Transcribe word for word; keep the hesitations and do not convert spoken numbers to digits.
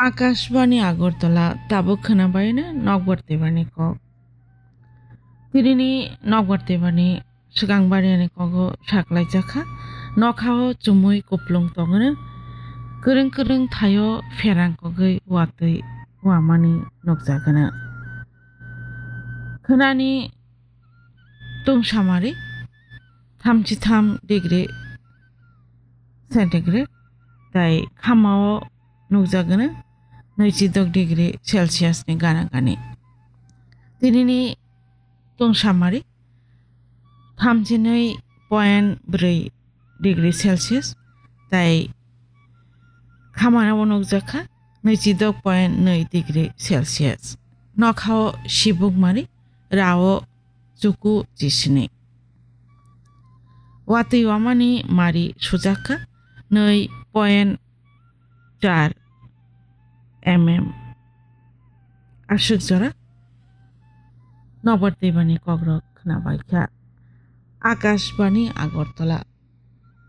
Akashbani Agartala, tabuk khwnabaino nokbar twibani kok. Tinini nokbar twibani swkang bariani kogo saklaijakha. Nokhao chumui kuplung tongwno, kwrwng kwrwng thaio pherang kogwi watwi wamani nukjagwno. Khwnani tungsamari thamchi tham degree centigrade, tai khamao nukjagwno nwichi dok degree Celsius ni gana gani. Tinini tungsamari thamchi nwi point brwi degree Celsius, tai khamana o nukjakha nwichi dok point nwi degree Celsius. Nokhao sibukmari rao chuku chisini. Watwi wamani mari sujakha nwi point char mm. Aswk jora nokbar twibani kokrok khwnabaikha. Akashbani Agartala,